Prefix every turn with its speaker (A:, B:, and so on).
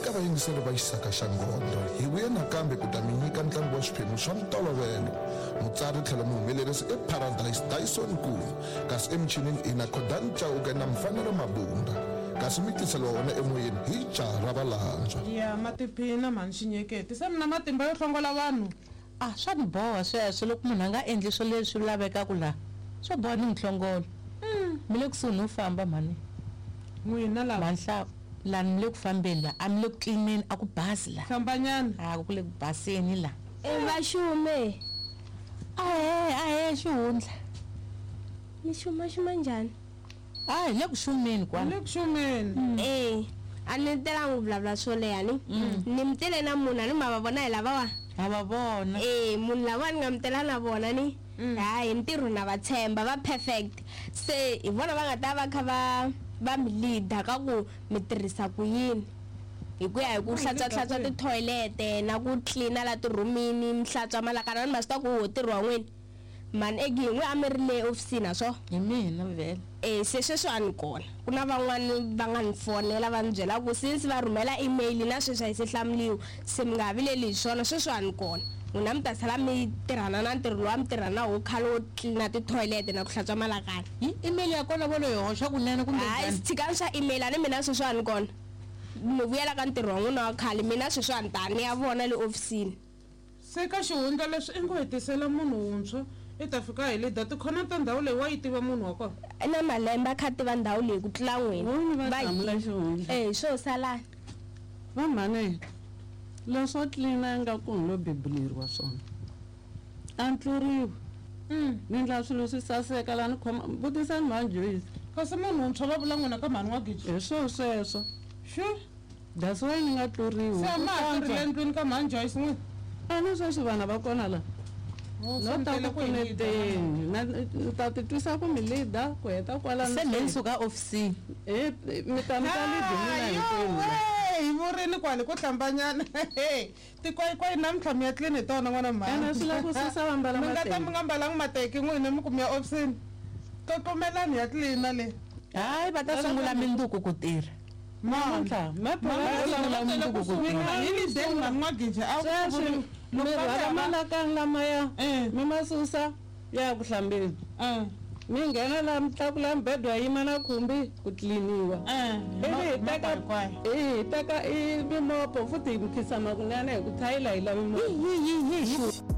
A: Eka vayingiseri va Xisaka xa Nghondo, hi vuye nakambe ku ta mi nyika ntlangu wa swiphemu swa ntolovelo. Mutsari tlhelo muhumelerisi i Paradise Dyson Nkuna, kasi emichinini i na Khodani Chauke na Mfanelo Mabunda. Kasi mi tiseriwa wona emoyeni hi jaha ra Valandzwa.
B: Ya ma tiphina mhani Xinyeketi. Se mi na matimba yo hlongola vanhu?
C: A swa ni boha sweswo loko munhu a nga endli swo leswi lavekaka laha swo boha ni n'wi hlongola. Mi le kusuhi no famba mhani.
B: N'wina lava.
C: Mhani Hlavu, lani mi le ku fambeni la, a mi le ku tlilineni, a ku basi la.
B: Hlambanyana.
C: A ku le ku baseni la.
D: E va xume.
C: Ahee, ahee xihundla.
D: Mi xuma xuma njhani?
C: A hi le ku xumeni kwala.
B: Hi le ku xumeni.
D: E, a ni telangi ku vulavula swo leha ni. Ni mi tele na munhu a ni ma va vona hi lavawa?
C: Ha va vona.
D: E, munhu lavawa ni nga mi tela na vona ni. Hayi hi ntirho na va tshemba va perfect. Se hi vona va nga ta va kha va va mi leader ka ku mi tirhisa ku yini. Hi ku ya hi ku hlantswa hlantswa tithoyilete na ku tlilina la tirhumini mi hlantswa malakana ni ma swi tiva ku wo ntirho wa n'wina. Mhani Eggie hi n'wi a mi ri le ofisini ha swo?
C: Hi mina vhele.
D: E se sweswi a ni kona. Ku na van'wani va nga ni fonela va ni byela ku since va rhumela email na sweswi a yi se hlamuriwa se mi nga ha vileli hi swona sweswi a ni kona. N'wina mi ta sala mi tirhana na ntirho lowu a mi tirha na wo khale wo tlilina tithoyilete na ku hlantswa malakana.
C: Hi email ya kona vo lo yi hoxa kunene kumbe
D: Hayi
C: njhani?
D: tshikani swa email a ni mina sweswi a ni kona. Mi vuyela ka ntirho wa n'wina wa khale mina sweswi a ni ta ni ya vona le ofisini.
B: Se ka xihundla leswi i ngo hi tisela munhu wuntshwa i ta fika hi leader tikhona ta ndhawu leyi wa yi tiva munhu wa kona.
D: I na malembe a kha a tiva ndhawu leyi ku tlula n'wina.
E: Voni va
D: Va yi
E: hlamula
D: tiva.
E: xihundla.
D: E hi swo salani.
E: Va mhani leswo tlilina ingaku ni lo bebuleriwa swona. A ni tluriwi. Ni ndla swilo swi saseka la ni khoma vutisani mhani Joyce.
B: Kasi munhu wuntshwa va vula n'wina ka mhani wa Giji?
E: Hi swo sweswo.
B: Xu.
E: That's why ni nga tluriwi.
B: Se a ma ha tirhi le ndlwini ka mhani Joyce n'wina?
E: A ni sweswi vana va kona la.
B: Oh, se
E: No
B: mi
E: ta
B: tele
E: ku
B: ku hi leader.
E: pfuneteni. Na ni ta ti twisa ku mi leader ku heta kwalano
C: Se me ni suka ofisini.
E: Eh mi ta mi ta lead n'wina hinkwenu la.
B: Hi vurini kwale ko hlambanyana. Tikwayikwayi namuntlha mi ya tlini hi tona n'wana mhani.
E: Ene swi lava ku susa va mbala
B: Mi nga ta
E: mateki.
B: mi nga mbalangi mateki n'wina mi ku mi ya ofisini. Tlokomelani ya tlilina le.
C: Hayi va ta sungula minduku ku tirha.
E: Namuntlha sweswi mi rhwala malakani lamaya mi ma susa ya ya ku hlambeni mi nghena la mi tlakula mibedwa ya yima na khumbi ku tliliniwa ivi hi teka hi teka i mimopo futhi hi mikhisama kunene hi ku thayila hi lavi mopo.